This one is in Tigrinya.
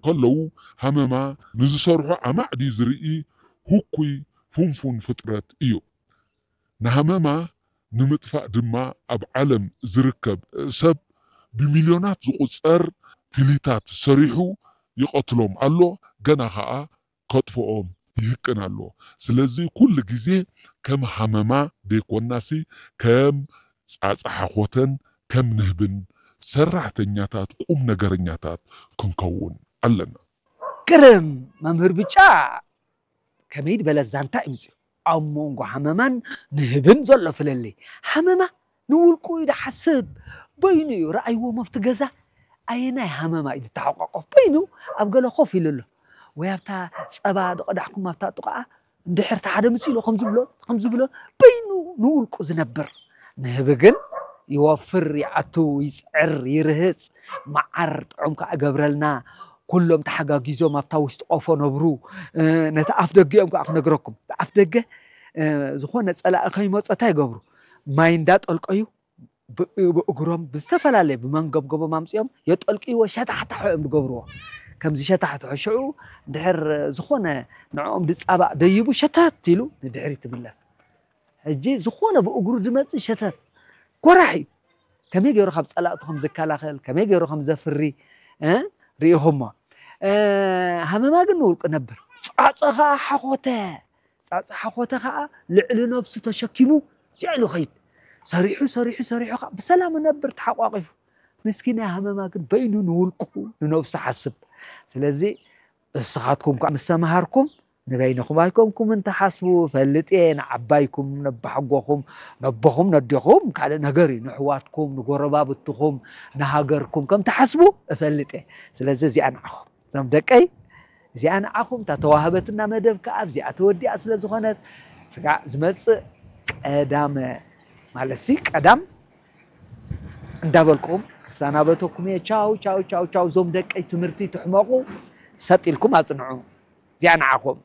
ከለዉ፣ ሃመማ ንዝሰርሖ ኣማዕዲ ዝርኢ ህኩይ ፍንፉን ፍጥረት እዩ። ንሃመማ ንምጥፋእ ድማ ኣብ ዓለም ዝርከብ ሰብ ብሚልዮናት ዝቑጸር ፍሊታት ሰሪሑ ይቐትሎም ኣሎ፣ ገና ኸኣ ከጥፍኦም ይህቅን ኣሎ። ስለዚ ኩሉ ግዜ ከም ሃመማ ደይኮናሲ ከም ጻጻ ሓኾተን ከም ንህብን ሰራሕተኛታት ቁም ነገረኛታት ክንከውን ኣለና። ግርም መምህር ብጫ ከመይ ዝበለ ዛንታ እዩ ምጽእ ኣብ መንጎ ሃመማን ንህብን ዘሎ ፍለለይ። ሃመማ ንውልቁ እዩ ድሓስብ፣ በይኑ እዩ ረኣይዎ መብቲ ገዛ። ኣየናይ ሃመማ እዩ ዝተሓቋቆፍ? በይኑ ኣብ ገለ ኮፍ ኢሉ ኣሎ። ወይ ኣብታ ጸባ ዝቐዳሕኩም ኣብታ ጥቓኣ እንድሕር እቲ ሓደ ምጽእ ኢሉ ከም ዝብሎ ከም ዝብሎ በይኑ ንውልቁ ዝነብር። ንህቢ ግን ይወፍር፣ ይኣቱ፣ ይጽዕር፣ ይርህጽ፣ መዓር ጥዑም ከኣ ገብረልና። ኩሎም ተሓጋጊዞም ኣብታ ውሽጢ ቆፎ ነብሩ። ነቲ ኣፍ ደገኦም ከኣ ክነግረኩም፣ እቲ ኣፍ ደገ ዝኾነ ጸላኢ ከይመጾ እንታይ ይገብሩ? ማይ እንዳጠልቀዩ ብእግሮም ብዝተፈላለየ ብመንገብገቦም ኣምፅኦም የጠልቅዎ፣ ሸታሕታሖ እዮም ዝገብርዎ። ከምዚ ሸታሕታሖ ሽዑ ድሕር ዝኾነ ንዕኦም ዝፃባእ ደይቡ ሸተት ኢሉ ንድሕሪት ትምለስ። ሕጂ ዝኾነ ብእግሩ ዝመፅእ ሸተት ጎራሕ እዩ። ከመይ ገይሩ ካብ ፀላእቱ ከም ዝከላኸል፣ ከመይ ገይሩ ከም ዘፍሪ ሪኢኹሞ። ሃመማ ግን ንውልቁ ነብር። ፃፀ ከዓ ሓኾተ። ፃፀ ሓኾተ ከዓ ልዕሊ ነብሱ ተሸኪሙ ልዕሉ ኸይድ። ሰሪሑ ሰሪሑ ሰሪሑ ከዓ ብሰላም ነብር ተሓቋቂፉ። ምስኪናይ ሃመማ ግን በይኑ ንውልቁ ንነብሱ ሓስብ። ስለዚ እስኻትኩም ከዓ ምስ ተምሃርኩም ንበይንኹም ኣይኮንኩምን ትሓስቡ፣ እፈልጥ እየ። ንዓባይኩም ነባሕጎኹም ነቦኹም ነዴኹም ካልእ ነገር እዩ። ንሕዋትኩም ንጎረባብትኹም ንሃገርኩም ከም ትሓስቡ እፈልጥ እየ። ስለዚ እዚኣ ንዓኹም እዞም ደቀይ እዚኣ ንዓኹም እታ ተዋህበትና መደብ ከዓ ኣብዚኣ ተወዲኣ ስለ ዝኾነት ስጋዕ ዝመፅእ ቀዳመ ማለት ሲ ቀዳም እንዳበልኩም ክሰናበተኩም እየ። ቻው ቻው ቻው ቻው። እዞም ደቀይ ትምህርቲ ትሕመቑ ሰጥ ኢልኩም ኣፅንዑ። እዚኣ ንዓኹም።